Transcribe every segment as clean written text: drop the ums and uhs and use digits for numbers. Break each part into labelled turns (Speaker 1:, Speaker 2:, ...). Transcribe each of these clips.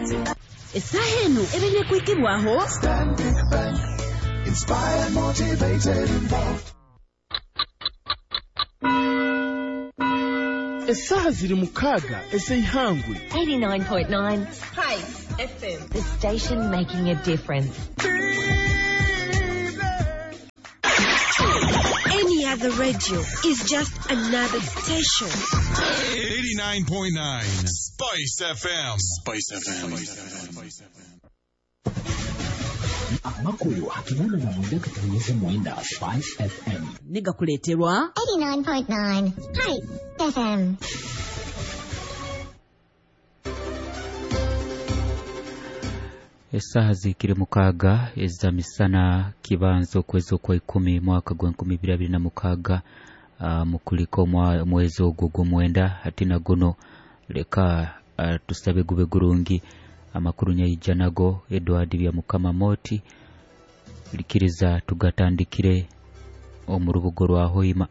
Speaker 1: Essaaha eno ebaire kwikibwaho
Speaker 2: Stanbic Bank. Inspired, motivated, involved.
Speaker 3: Essaaha ziri 6 ez'eihangwe.
Speaker 4: 89.9 Spice FM. The station making a difference.
Speaker 5: Any other radio is just another station.
Speaker 6: 89.9 Spice FM. Spice FM.
Speaker 7: Amakuru hakinana na mwenda katanyeze mwenda Spice FM.
Speaker 1: Negakuleterwa
Speaker 8: 89.9 Spice FM.
Speaker 9: Esaha zikiri 6 eza misana kibanza okwezi okwa 10 mwaka gwa 2026, mukuliko mwezi ogwo gw'omwenda hati na guno leka tusabe gube gurungi. Amakuru nyaija nago Edward bya Mukama Moti likiriza tugatandikire omu rubugo rwa Hoima.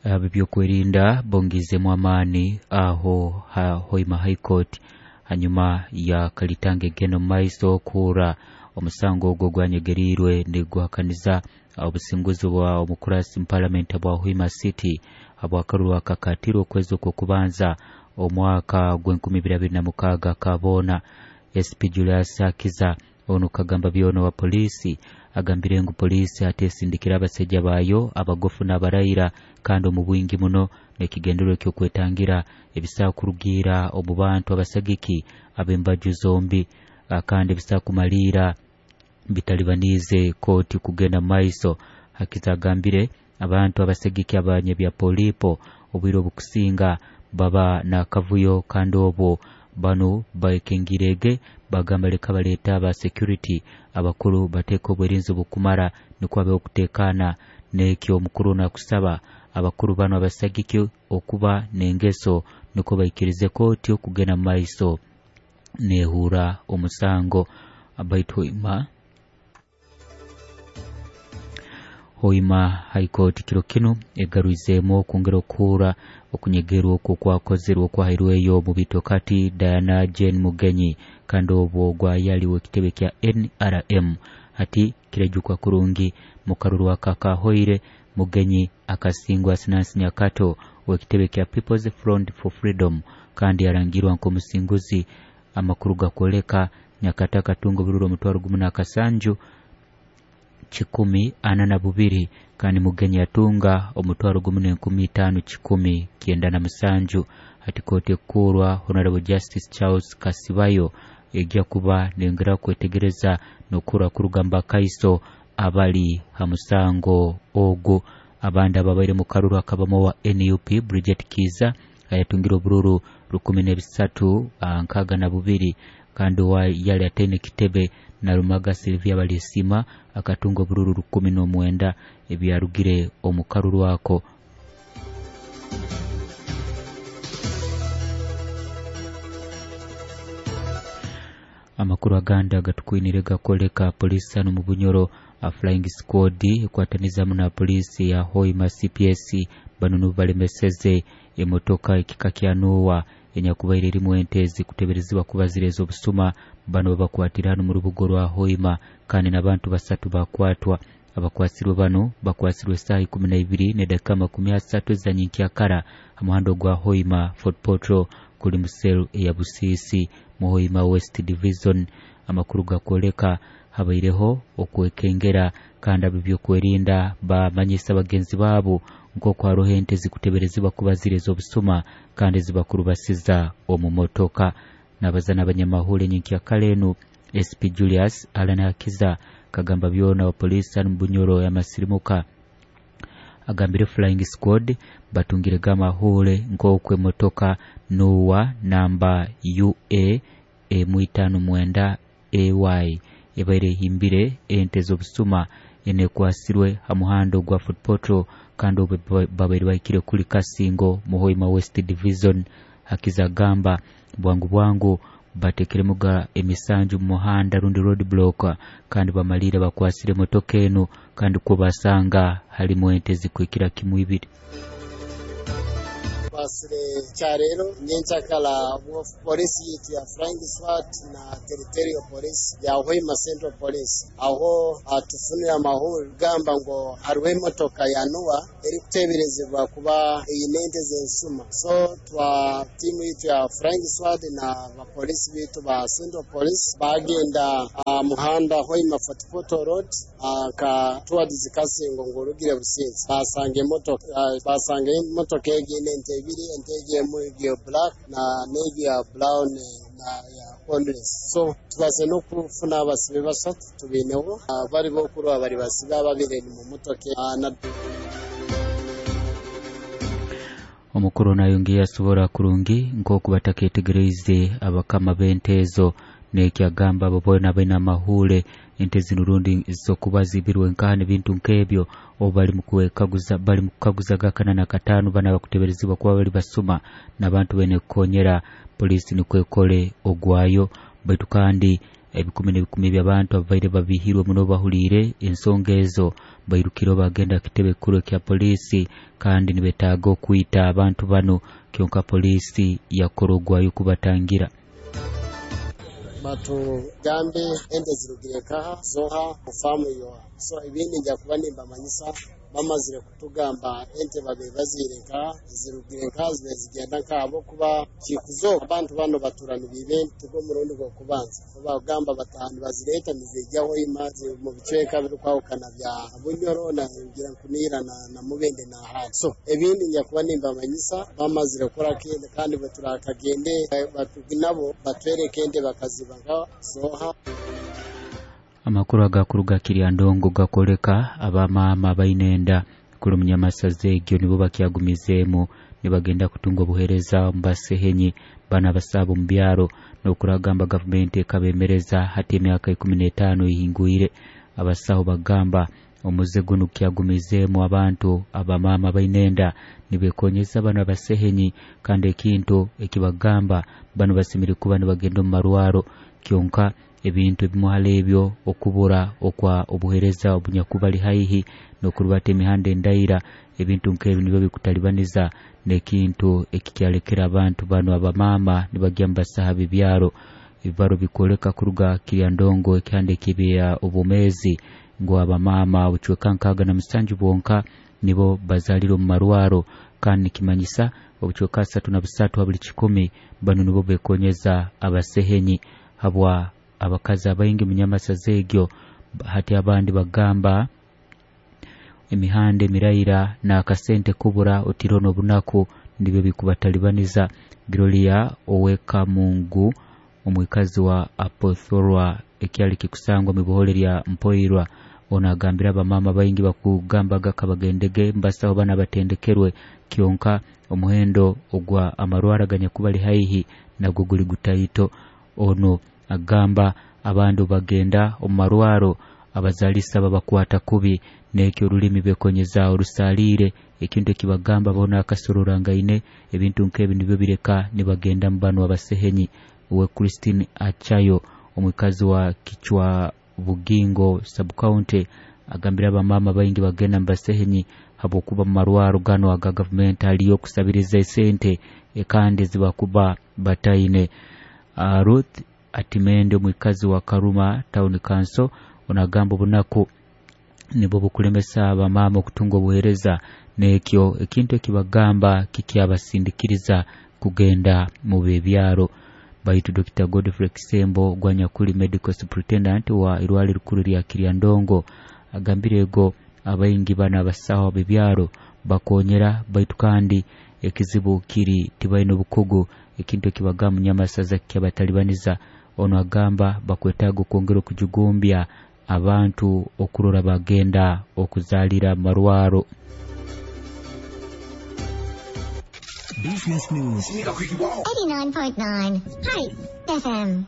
Speaker 9: Ab'ebyokwerinda bongizemu amaani aho ha Hoima High Court hanyuma ya Kalitange geno maiso kura omusango ogwo gwanyegerirwe niguhakaniza obusinguzi bwa omukurasi parliament bwa Hoima City abwakaruru akakatirwa okwezi okwo kubanza omwaka gwa 2026 kabona. SP Julius Akiza ono kagamba byono wa polisi agambire ngu polisi atesindikira abasajja bayo abagofu n'abarayira kandi omu bwingi muno n'ekigendererwa eky'okwetangira ebisakurugira omu bantu abasagiki ab'embaju zombi, kandi ebisakumaliira bitalibanize kooti kugenda maiso. Hakiza agambire abantu abasagiki abanyebya polipo obwire obukusinga baba n'akavuyo kandi obwo bano baekengirege bagamba leka baleeta aba security abakuru bateeka obwerinzi obukumara nikwo abe okuteekaana. N'ekyo omukuru nakusaba abakuru bano abasagiki okuba n'engeso nikwo baikirize kooti okugenda mu maiso nehuura omusango. Baitu Hoima High Court kiro kinu egarwizeemu okwongera okuhuura okunyegerwa okwo okwakozerwe okwahairweyo mu bitokati Diana Jane Mugenyi kandi obwo gwayaliwe ekitebe kya NRM. Hati kirejukwa kurungi mukaruru akakahoire Mugenyi akasingwa Sinansi Nyakato w'ekitebe kya People's Front for Freedom kandi yarangirwa nk'omusinguzi. Amakuru gakoleka Nyakato akatunga obururu 17,142 kandi Mugenyi atunga 1,597. Hati kooti ekukurwa Honorable Justice Charles Kasibayo ejja kuba nengera kwetegereza n'okura kurugamba kaiso abali ha musango ogwo. Abandi ababaire mu karuru akabamo wa NUP Bridget Kiza ayatungire obururu 1,362 kandi wa yali atene kitebe na Rumaga Sylvia Balisima akatunga obururu 19 ebyarugire omu karuru ako. Amakuru aganda gatukwinire gakoleka polisi ano mu Bunyoro a flying squad ekwatanizamu na polisi ya Hoima CPS bano balemeseze emotoka ekika kya Noah enyakubaire erimu ente zikuteberezibwa kuba zireza obusuma. Bano babakwatira hano mu rubugo rwa Hoima kandi n'abantu 3 bakwatwa. Abakwasirwe bano bakwasirwe saa 12:30 za nyenkyakara ha muhando gwa Hoima Fort Portal kuli muselu eya Busisi mu Hoima West Division. Amakuru gakoleka habaireho okwekengera kandi ab'ebyokwerinda bamanyisa bagenzi baabo nk'oku haroho ente zikuteberezibwa kuba zireza obusuma kandi zibakurubasiza omu motoka. Nabaza n'abanyamahule nyenkyakara enu SP Julius Alan Hakiza kagamba byona wa polisi mu Bunyoro yamasirimuka agambire flying squad batungire gamahule nk'oku emotoka Noah namba UA M59 AY ebaire ehimbire ente z'obusuma enekwasirwe ha muhando gwa Fort Portal kandi obwe babaire bahikire kuli Kasingo mu Hoima West Division. Hakiza gamba bwangu bwangu batekeremuga emisanju mu muhanda rundi road block kandi bamalire bakwasire motoka eno kandi kwo basanga halimu ente zikwikira kimwe ibiri.
Speaker 10: Bakwasire kyarero nyenchakala polisi yitu ya Flying Squad na Territorial Police ya Hoima Central Police aho atufunira amahuri gamba ngo hariho emotoka ya Noah eri kuteberezebwa kuba eyine ente z'ensuma. So twa timu yitu ya Flying Squad na bapolisi bitu ba Central Police bagenda muhanda Hoima Fort Portal Road ka towards Kasingo ngurugire Businzi basanga emotoka basanga emotoka egine ente ebiri, ente emu ya black na negi ya brown na ya homeless. So tubaze no kufuna abasibe basatu tubineho bari bokurwa bari basibe ababiri mu motoka na
Speaker 9: Omukuru nayongeye asobora kurungi nk'oku bataketegereize abakama b'ente ezo nekyagamba abo boona baine amahule ente zino rundi zokuba zibirwe nkaha n'ebintu nk'ebyo obu bali mukwekaguza bali mukukaguza gakana na kataano bana bakuteberezibwa kuba bali basuma n'abantu baine kukonyera polisi nikwekole ogwayo. Baitu kandi ebikumi n'ebikumi by'abantu ababaire babihirwe muno bahuliire ensonga ezo bairukire bagenda kitebe kikuru kya polisi kandi nibetaaga okwita abantu bano kyonka polisi yakora ogwayo kubatangira.
Speaker 10: Batugambe ente zirugire nkaha zoha kufamu yoha. So ibindi nja kuba nimbamanyisa bamazire kutugamba ente babe bazire nkaha zirugire nkaha zibe zigenda nkabo kuba kikuzo abantu bano baturana bibe tugo murundi gwo kubanza bagamba batanu bazireta nizijyaho imazi mu bicweka biri kwahukana bya Bunyoro na ngira nkunira na Mubende na handi. So ibindi nja kuba nimbamanyisa bamazire kora kende kandi baturakagende nabo batwereke ente bakaziba nka zoha.
Speaker 9: Amakuru agakuruga Kiryandongo gakoleka abamama bainenda kuli munyamasaza egyo nibo bakyagumizeemu nibagenda kutunga obuheereza omu basehenyi bana basaaba omu byaro n'okuragamba gavumenti ekabemereza hati emyaka 15 ihingwire. Abasaho bagamba omuze guno kyagumizeemu abantu abamama bainenda nibekonyeza bano abasehenyi kandi ekintu ekibagamba bano basemere kuba nibagenda omu marwaro kyonka ebintu ebimuhala ebyo okubura okwa obuhereza obunyakubali haihi n'okurubata emihanda endaira ebintu nk'ebyo nibyo bikutalibaniza n'ekintu ekikyalekera abantu bano abamama nibagya mu basaha b'ebyaro. Ebibaro bikoleka kuruga Kiryandongo ekihanda ekibya obumezi ngu abamama obucweka 67 bwonka nibo bazalire omu marwaro kandi nikimanyisa obucweka 33 buli 10 bano nibo bekonyeza abasehenyi habwa abakazi abaingi munyamasaza egyo. Hati abandi bagamba emihanda emiraira n'akasente kubura otiro n'obunaku nibyo bikubatalibaniza. Gloria Owekamungu omwikazi wa Apothorwa ekyali kikusangwa mu buhole lya Mpoirwa ono agambira abamama baingi bakugambaga kabagendege mbasaho bana batendekerwe kyonka omuhendo ogwa amarwara ganyakubali haihi nagwo guli gutaito. Ono agamba abandu bagenda omu marwaro abazalisa babakwata kubi nekyo olulimi bekonyeza orusalire ekintu ekibagamba bona akasororangaine ebintu nk'ebi nibyo bireka nibagenda mu bano abasehenyi. Uwe Christine Achayo omwikazi wa Kichwa Bugingo sub-county agambira abamama baingi bagenda mu basehenyi habwokuba mu marwaro gano aga gavumenti aliyo okusabiriza esente kandi zibakuba bataine. Ruth Atimende omwikazi wa Karuma Town Council onagamba obunaku nibwo bukulemesa abamama okutunga obuheereza nekyo ekintu ekibagamba kikyabasindikiriza kugenda mu bebyaro. Baitu Dr. Godfrey Kisembo gwanyakuli medical superintendent wa irwaliro rikuru lya Kiryandongo agambire ego abaingi bana abasaho bebyaro bakonyera baitu kandi ekizibu kiri tibaine obukugu ekintu ekibagamba munyamasaza kyabatalibaniza. Ono agamba bakwetaaga okwongera okujugumbya abantu okurora bagenda okuzalira marwaro.
Speaker 7: Business News
Speaker 8: 89.9 Spice FM.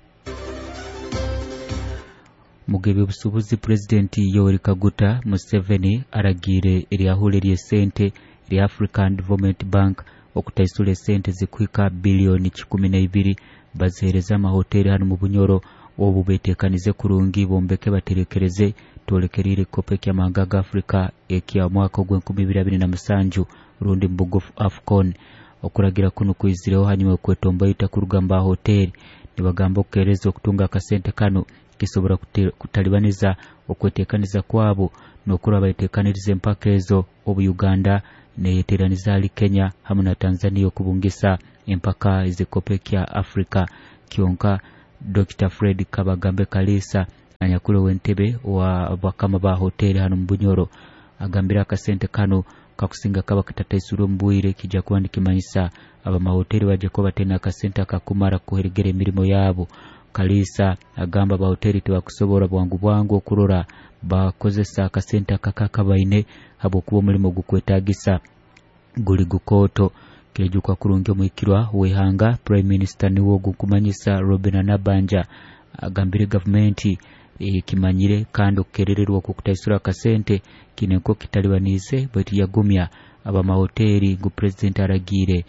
Speaker 9: Mugebe obusubuzi President Yoweri Kaguta Museveni aragire eryahule ly'esente lya African Development Bank okutaisula esente zikuhika bilioni 12 bazihereza amahoteli hano mu Bunyoro obu betekanize kurungi bombeke baterekereze tolekerire kope ky'amahanga ga Afrika ekya mwaka ogw'enkumi ibiri abiri na musanju rundi mbugufu AFCON. Okuragira kuno kwizireho hanyuma y'okwetomboita kuruga mu bahoteri nibagamba okukereza okutunga akasente kano kisobora kutalibaniza okwetekaniza kwabo n'okuraba bayetekaniriza empaka ezo obu Uganda neyeteraniza hali Kenya hamu na Tanzania okubungisa empaka ez'ekikopo kya Afrika. Kyonka Dr. Fred Kabagambe Kalisa anyakuli w'entebe wa bakama ba hoteri hano mu Bunyoro agambira akasente kano kakusinga kaba katataisirwe omu bwire kijja kuba nikimanyisa abamahoteri bajja kuba batena akasente akakumara kuheregera emirimo yabo. Kalisa agamba abahoteri tibakusobora bwangu bwangu okurora bakozesa akasente akakaka baine habwokuba omulimo gukwetagisa guli gukoto. Kirejuka kurungi omwikirwa w'ihanga Prime Minister niwo gukumanyisa Robin Nabanja agambire gavumenti kimanyire kandi okukerererwa okukutaisura akasente kinenko kitalibanize baitu yagumya abamahoteri ngu president aragiire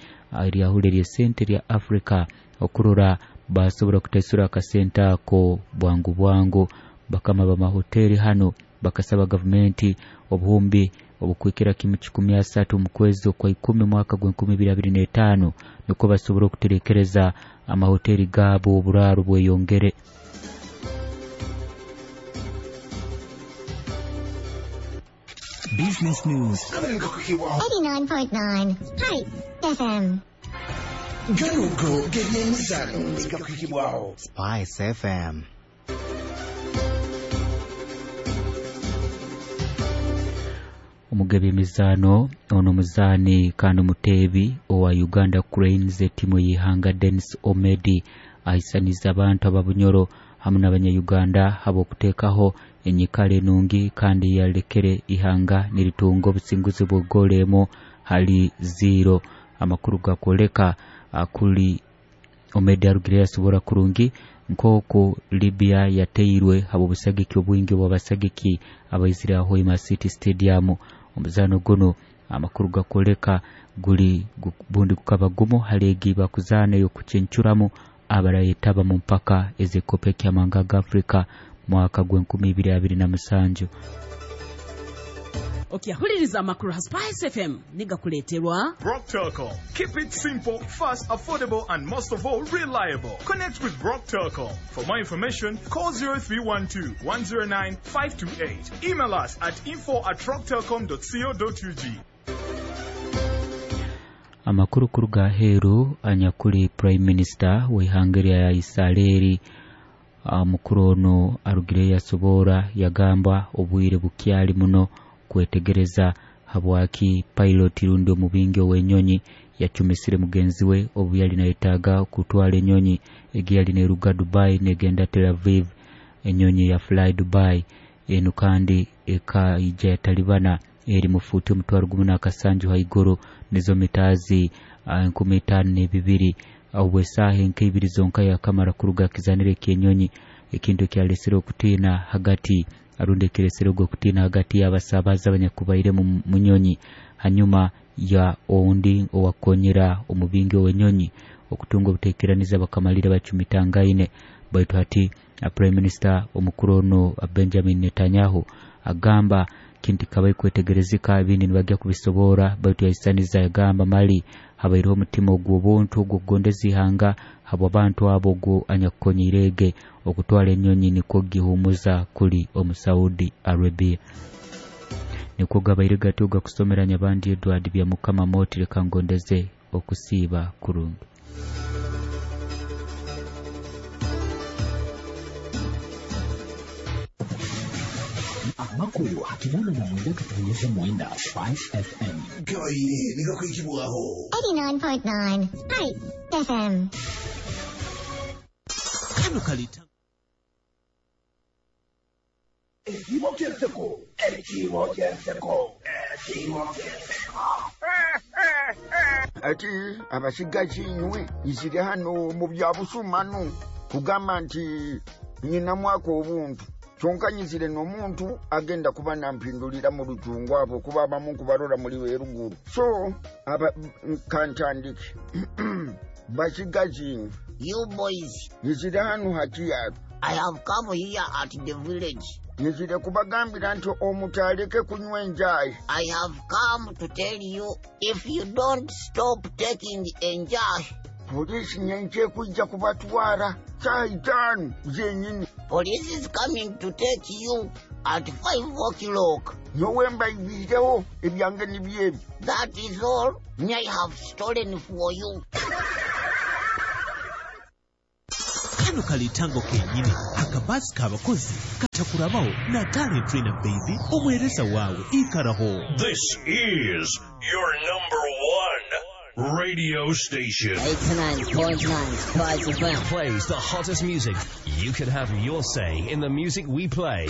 Speaker 9: eryahule ly'esente lya Afrika okurora basobora kutaisura akasente ako bwangu bwangu. Bakama bamahoteri hano bakasaba gavumenti obuhumbi obukwikira kimu 130 mu kwezi okwa 10 mwaka gwa 2025 niko basobora okuterekereza amahoteri gabo oburaro bweyongere.
Speaker 7: Business News
Speaker 8: 89.9 Spice FM.
Speaker 2: Ganugo g'ebyemizano gakwikibwaho
Speaker 11: Spice FM.
Speaker 9: Omugabi emizano ono muzaani kandi omuteebi owa Uganda Cranes etimu y'ihanga Dennis Omedi ahisaniza abantu ababunyoro hamu n'abanya-Uganda habw'okuteekaho enyikara enungi kandi yalekere ihanga niritunga obusinguzi bw'egoolo emu hali 0. Amakuru gakwoleka kuli Omedi arugire yasobora kurungi nk'oku Libya yateirwe habw'obusagiki obwingi bw'abasagiki abaizire Hoima City Stadium. Omuzano guno amakuru gakwoleka guli bundi gukaba gumu hali egi bakuzaana ey'okucencuramu abarayetaba mu mpaka ez'ekikopo ky'amahanga ga Afrika mwaka gwa 2027.
Speaker 1: Okyahuliriza amakuru ha Spice FM nigakuleeterwa
Speaker 6: Brock Telcom. Keep it simple, fast, affordable, and most of all, reliable. Connect with Brock Telcom. For more information, call 0312 109 528. Email us at info@rocktelcom.co.ug.
Speaker 9: Amakuru kuruga aheeru anyakuli Prime Minister w'ihanga lya Israeli mukuru ono arugire yasobora yagamba obwire bukyali muno kwetegereza habwaki pilot rundi omubingi ow'enyonyi yacumisire mugenzi we obu yali nayetaaga kutwala enyonyi egi yali neruga Dubai negenda Tel Aviv, enyonyi ya Fly Dubai enu kandi ekaija yatalibana eri mufuti 17,000 haiguru nizo mitazi 5200 obwesaaha enkeibiri zonka yakamara kuruga kizanire ky'enyonyi, ekintu ekyalesere okutiina hagati arundi ekiresere okutiina hagati y'abasabaza abanyakubaire mu nyonyi hanyuma ya oundi owakonyera omubingi ow'enyonyi okutunga obuteekeraniza bakamalira bacumitangaine. Baitu hati Prime Minister omukuru ono Benjamin Netanyahu agamba kintu kabai kwetegerezeka ebindi nibajja kubisobora, baitu yahisaniza yagamba mali habaireho omutima ogw'obuntu ogw'okugondeza ihanga habw'abantu abo ogwo anyakukonyireege okutwara enyonyi nikwo gihumuza kuli omu Saudi Arabia. Nikwo gabaire gatyo gakusomera Nyabandi Edward Byamukama Moti leka ngondeze okusiiba kurungi.
Speaker 7: Amakuru hakinana na mwenda katonyeza mwenda Spice FM.
Speaker 2: Gabaire nigakwikibwaho
Speaker 8: 89.9 Spice FM.
Speaker 3: Kano kalita
Speaker 2: Ekimo kyenseko, ekimo kyenseko, ekimo kyenseko.
Speaker 12: Ati abasigazi inywe izire hano mu bya busumanu kugamba nti nyina mwaka obuntu kyonka nyizire n'omuntu agenda kuba nampindulira mu lujungu abo kuba abamu nkubarora muri weruguru so aba kantandike basigazi inywe
Speaker 13: You boys
Speaker 12: nyizire hano hakiyaro
Speaker 11: I have come here at the village.
Speaker 12: Nyizire kubagambira nti omuntu aleke kunywa enjayi.
Speaker 11: I have come to tell you if you don't stop taking enjayi,
Speaker 12: Poliisi nyenkya ekujja kubatwala saawa 5 zennyini.
Speaker 11: Police is coming to take you at 5 o'clock.
Speaker 12: Nyowe mbayibiirewo ebyange nibyo ebyo.
Speaker 11: That is all I have stolen for you.
Speaker 13: Kano kalitango kenyini akabasi k'abakozi katakurabaho na talent trainer baby omwereza wawe ikaraho.
Speaker 14: This is your number one radio station.
Speaker 15: 89.9 Spice FM
Speaker 16: plays the hottest music. You could have your say in the music we play.